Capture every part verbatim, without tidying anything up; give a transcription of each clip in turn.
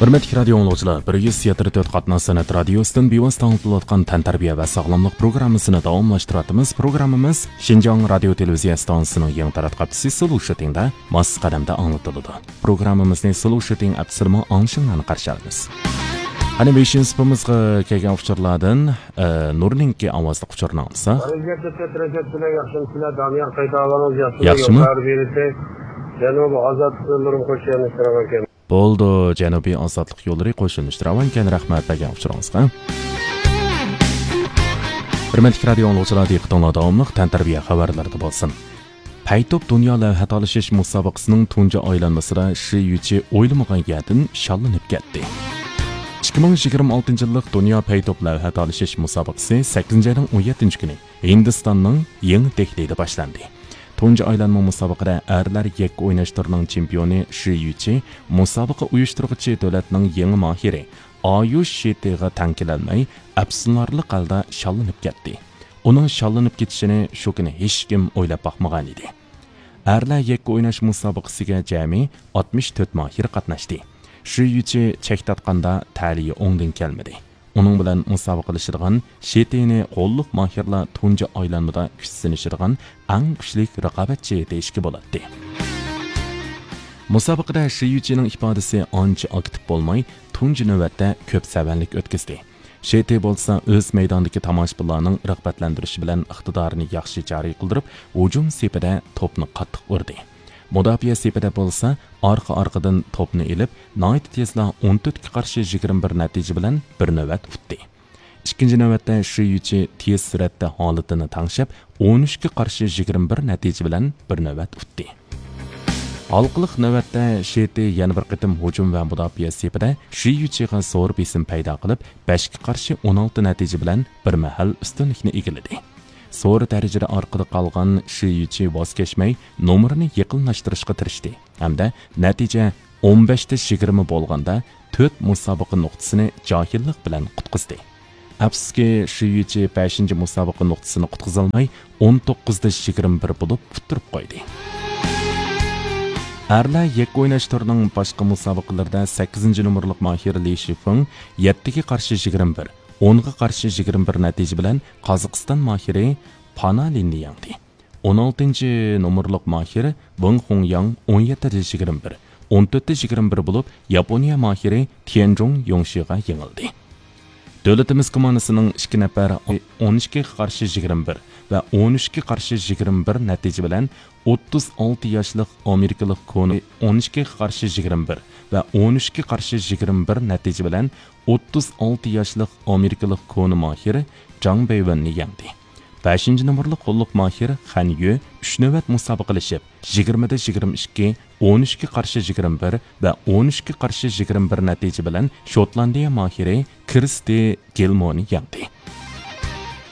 ھۆرمەتلىك رادىئو ئاڭلىغۇچىلار، بىر يۈز يەتتە تۆت قاتناش سەنئەت رادىيوسىدىن بىۋاسىتە ئاڭلىتىلىۋاتقان تەنتەربىيە ۋە ساغلاملىق پروگراممىسىنى داۋاملاشتۇرۇۋاتىمىز. پروگراممىمىز شىنجاڭ رادىيو تېلېۋىزىيە ئىستانسىسىنىڭ يېڭى تاراتقۇ ھەپتىسى سلوشىتىڭدا ماس قەدەمدە ئاڭلىتىلىدۇ. پروگراممىمىزنى سلوشىتىڭ ئەپسىدىمۇ ئاڭلىشىڭلارنى قارشى ئالىمىز. قېنى، بېشىنچى سۇپىمىزغا كەلگەن ئۇچۇرلاردىن، ئە، نۇرنىڭكى ئاۋازلىق ئۇچۇرىنى ئاڭلىساق. رەجەپ بىلەن ياخشىمۇ سىلەر، دانىيار قايتاۋالىڭىز، ياخشىمۇ؟ ياخشىمۇ؟ يوللار بېرىسى، جەنۇبىي ئازادلىق يوللىرىنى قوشۇپ يانداشتۇرىمەن. بولدى، جەنۇبىي ئازادلىق يوللىرى قوشۇنۇشتۇراۋانكەن، رەھمەت بەرگەن ئۇچۇرىڭىزغا. ھۆرمەتلىك رادىئو ئاڭلىغۇچىلار، دىققىتىڭلار داۋاملىق تەنتەربىيە خەۋەرلىرىدە بولسۇن. پەيتوپ دۇنيا لەۋھە تالىشىش مۇسابىقىسىنىڭ تۇنجى ئايلانمىسىدا شى يۈچى ئويلىمىغان يەردىن شاللىنىپ كەتتى. ئىككى مىڭ يىگىرمە ئالتىنچى يىللىق دۇنيا پەيتوپ لەۋھە تالىشىش مۇسابىقىسى سەككىزىنچى ئاينىڭ ئون يەتتىنچى كۈنى ھىندىستاننىڭ يېڭى دېھلىدا باشلاندى. تۇنجى ئايلانما مۇسابىقىدە ئەرلەر يەككە ئويناش تۈرىنىڭ چېمپىيونى شى يۈچى مۇسابىقە ئۇيۇشتۇرغۇچى دۆلەتنىڭ يېڭى ماھىرى ئايۇش شېتىغا تەڭ كېلەلمەي، ئەپسۇسلىنارلىق ھالدا شاللىنىپ كەتتى. ئۇنىڭ شاللىنىپ كېتىشىنى شۇ كۈنى ھېچكىم ئويلاپ باقمىغانىدى. ئەرلەر يەككە ئويناش مۇسابىقىسىگە جەمئىي ئاتمىش تۆت ماھىر قاتناشتى. شى يۈچى چەك تارتقاندا تەلىيى ئوڭدىن كەلمىدى. ئۇنىڭ بىلەن مۇسابىقىلىشىدىغان شېتىنى غوللۇق ماھىرلار تۇنجى ئايلانمىدا كۈچ سىنىشىدىغان ئەڭ كۈچلۈك رىقابەتچى دېيىشكە بولاتتى. مۇسابىقىدە شى يۈچىنىڭ ئىپادىسى ئانچە ئاكتىپ بولماي، تۇنجى نۆۋەتتە كۆپ سەۋەنلىك ئۆتكۈزدى. شېتى بولسا ئۆز مەيدانىدىكى تاماشىبىنلارنىڭ رىغبەتلەندۈرۈشى بىلەن ئىقتىدارىنى ياخشى جارى قىلدۇرۇپ، ھۇجۇم سېپىدە توپنى قاتتىق ئۇردى. مۇداپىئە سېپىدە بولسا ئارقا-ئارقىدىن توپنى ئېلىپ، ناھايىتى تېزلا ئون تۆتكە قارشى يىگىرمە بىر نەتىجە بىلەن بىر نۆۋەت ئۇتتى. ئىككىنچى نۆۋەتتە شى يۈچى تېز سۈرئەتتە ھالىتىنى تەڭشەپ، ئون ئۈچكە قارشى يىگىرمە بىر نەتىجە بىلەن بىر نۆۋەت ئۇتتى. ھالقىلىق نۆۋەتتە شېتى يەنە بىر قېتىم ھۇجۇم ۋە مۇداپىئە سېپىدە شى يۈچىغا زور بېسىم پەيدا قىلىپ، بەشكە قارشى ئون ئالتە نەتىجە بىلەن بىر مەھەل ئۈستۈنلۈكنى ئىگىلىدى. زور دەرىجىدە ئارقىدا قالغان شى يۈچى ۋاز كەچمەي، نومۇرنى يېقىنلاشتۇرۇشقا تىرىشتى ھەمدە نەتىجە ئون بەشتە يىگىرمە بولغاندا، تۆت مۇسابىقە نۇقتىسىنى جاھىللىق بىلەن قۇتقۇزدى. ئەپسۇسكى، شى يۈچى بەشىنچى مۇسابىقە نۇقتىسىنى قۇتقۇزالماي، ئون توققۇزدا يىگىرمە بىر بولۇپ ئۇتتۇرۇپ قويدى. ئەرلەر يەككە ئويناش تۈرىنىڭ باشقا مۇسابىقىلىرىدە سەككىزىنچى نومۇرلۇق ماھىر لى شىفېڭ يەتتىگە قارشى يىگىرمە بىر، ئونغا قارشى يىگىرمە بىر نەتىجە بىلەن قازاقىستان ماھىرى پانا لىننى يەڭدى. ئون ئالتىنچى نومۇرلۇق ماھىر ۋېڭ خۇڭياڭ ئون يەتتىدە يىگىرمە بىر، ئون تۆتتە يىگىرمە بىر بولۇپ، ياپونىيە ماھىرى تيەنجۇڭ يوڭشىغا يېڭىلدى. دۆلىتىمىز كوماندىسىنىڭ ئىككى نەپەر ئون ئىككىگە قارشى يىگىرمە بىر ۋە ئون ئۈچكە قارشى يىگىرمە بىر نەتىجە بىلەن ئوتتۇز ئالتە ياشلىق ئامېرىكىلىق كونا ئون ئىككىگە قارشى يىگىرمە بىر ۋە ئون ئۈچكە قارشى يىگىرمە بىر نەتىجە بىلەن ئوتتۇز ئالتە ياشلىق ئامېرىكىلىق كونا ماھىر جاڭ بېيۋېننى يەڭدى. بەشىنچى نومۇرلۇق قوللۇق ماھىر خەن يۈ ئۈچ نۆۋەت مۇسابىقىلىشىپ، يىگىرمىدە يىگىرمە ئىككى، ئون ئۈچكە قارشى يىگىرمە بىر ۋە ئون ئۈچكە قارشى يىگىرمە بىر نەتىجە بىلەن شوتلاندىيە ماھىرى كىرستى گىلمونى يەڭدى.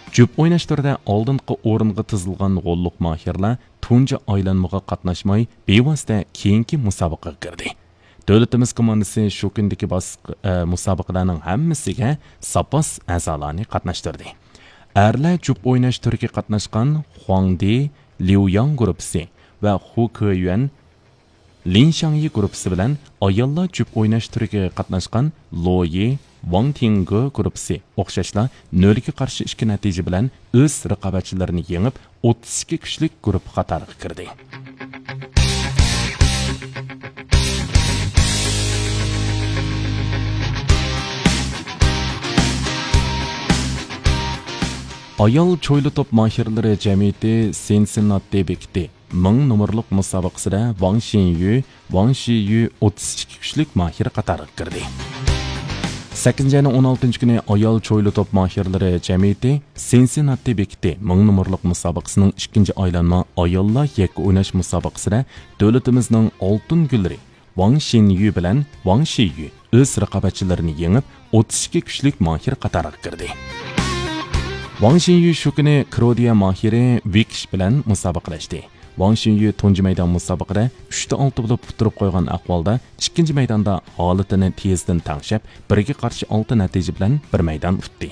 جۈپ ئويناش تۈرىدە ئالدىنقى ئورۇنغا تىزىلغان غوللۇق ماھىرلار تۇنجى ئايلانمىغا قاتناشماي، بىۋاسىتە كېيىنكى مۇسابىقىگە كىردى. دۆلىتىمىز كوماندىسى شۇ كۈندىكى باسق-، ئە، مۇسابىقىلەرنىڭ ھەممىسىگە زاپاس ئەزالارنى قاتناشتۇردى. ئەرلەر جۈپ ئويناش تۈرىگە قاتناشقان خۇاڭدى، ليۇياڭ گۇرۇپپىسى ۋە خۇ كېيۈەن، لىن شاڭيى گۇرۇپپىسى بىلەن ئاياللار جۈپ ئويناش تۈرىگە قاتناشقان لويى، ۋاڭ تىڭگې گۇرۇپپىسى ئوخشاشلا نۆلگە قارشى ئىككى نەتىجە بىلەن ئۆز رىقابەتچىلىرىنى يېڭىپ، ئوتتۇز ئىككى كۈچلۈك گۇرۇپپا قاتارىغا كىردى. ئايال چويلا توپ ماھىرلىرى جەمئىيىتى سىنسىنناتى بېكىتى مىڭ نومۇرلۇق مۇسابىقىسىدە ۋاڭ شىنيۈ، ۋاڭ شىيۈ ئوتتۇز ئىككى كۈچلۈك ماھىر قاتارىغا كىردى. سەككىزىنچى ئاينىڭ ئون ئالتىنچى كۈنى ئايال چويلا توپ ماھىرلىرى جەمئىيىتى سىنسىناتى بېكىتى مىڭ نومۇرلۇق مۇسابىقىسىنىڭ ئىككىنچى ئايلانما ئاياللار يەككە ئويناش مۇسابىقىسىدە دۆلىتىمىزنىڭ ئالتۇن گۈللىرى ۋاڭ شىنيۈ بىلەن ۋاڭ شىيۈ ئۆز رىقابەتچىلىرىنى يېڭىپ، ئوتتۇز ئىككى كۈچلۈك ماھىر قاتارىغا كىردى. ۋاڭ شىنيۈ شۇ كۈنى كرودىيە ماھىرى ۋىكىش بىلەن مۇسابىقىلەشتى. ۋاڭ شىنيۈ تۇنجى مەيدان مۇسابىقىدە ئۈچتە ئالتە بولۇپ ئۇتتۇرۇپ قويغان ئەھۋالدا، ئىككىنچى مەيداندا ھالىتىنى تېزدىن تەڭشەپ، بىرگە قارشى ئالتە نەتىجە بىلەن بىر مەيدان ئۇتتى.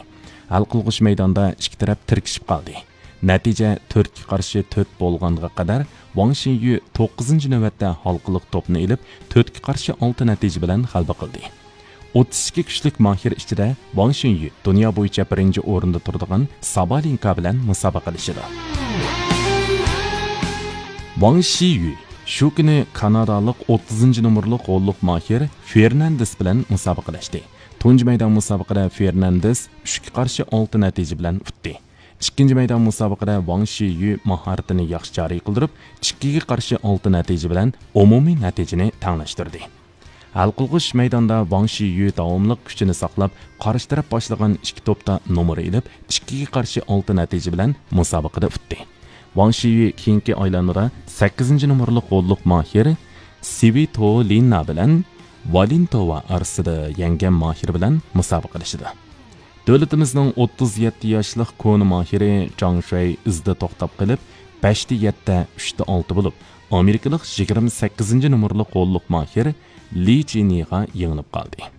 ھەل قىلغۇچ مەيداندا ئىككى تەرەپ تىركىشىپ قالدى. نەتىجە تۆتكە قارشى تۆت بولغانغا قەدەر، ۋاڭ شىنيۈ توققۇزىنچى نۆۋەتتە ھالقىلىق توپنى ئېلىپ، تۆتكە قارشى ئالتە نەتىجە بىلەن غەلىبە قىلدى. ئوتتۇز ئىككى كۈچلۈك ماھىر ئىچىدە ۋاڭ شىنيۈ دۇنيا بويىچە بىرىنچى ئورۇندا تۇرىدىغان سابالېنكا بىلەن مۇسابىقىلىشىدۇ. ۋاڭ شىيۈ شۇ كۈنى كانادالىق ئوتتۇزىنچى نومۇرلۇق غوللۇق ماھىر فېرناندېس بىلەن مۇسابىقىلەشتى. تۇنجى مەيدان مۇسابىقىدە فېرناندېس ئۈچكە قارشى ئالتە نەتىجە بىلەن ئۇتتى. ئىككىنچى مەيدان مۇسابىقىدە ۋاڭ شىيۈ ماھارىتىنى ياخشى جارى قىلدۇرۇپ، ئىككىگە قارشى ئالتە نەتىجە بىلەن ئومۇمىي نەتىجىنى تەڭلەشتۈردى. ھەل قىلغۇچ مەيداندا ۋاڭ شىيۈ داۋاملىق كۈچىنى ساقلاپ، قارشى تەرەپ باشلىغان ئىككى توپتا نومۇر ئېلىپ، ئىككىگە قارشى ئالتە نەتىجە بىلەن مۇسابىقىدە ئۇتتى. ۋاڭ شىيۈ كېيىنكى ئايلانمىدا سەككىزىنچى نومۇرلۇق غوللۇق ماھىر سىۋىتولىنا بىلەن ۋالېنتوۋا ئارىسىدا يەڭگەن ماھىر بىلەن مۇسابىقىلىشىدۇ. دۆلىتىمىزنىڭ ئوتتۇز يەتتە ياشلىق كونا ماھىرى جاڭ شۇەي ئىزدا توختاپ قېلىپ، بەشتە يەتتە، ئۈچتە ئالتە بولۇپ، ئامېرىكىلىق يىگىرمە سەككىزىنچى نومۇرلۇق غوللۇق ماھىر لى جىنيىغا يېڭىلىپ قالدى.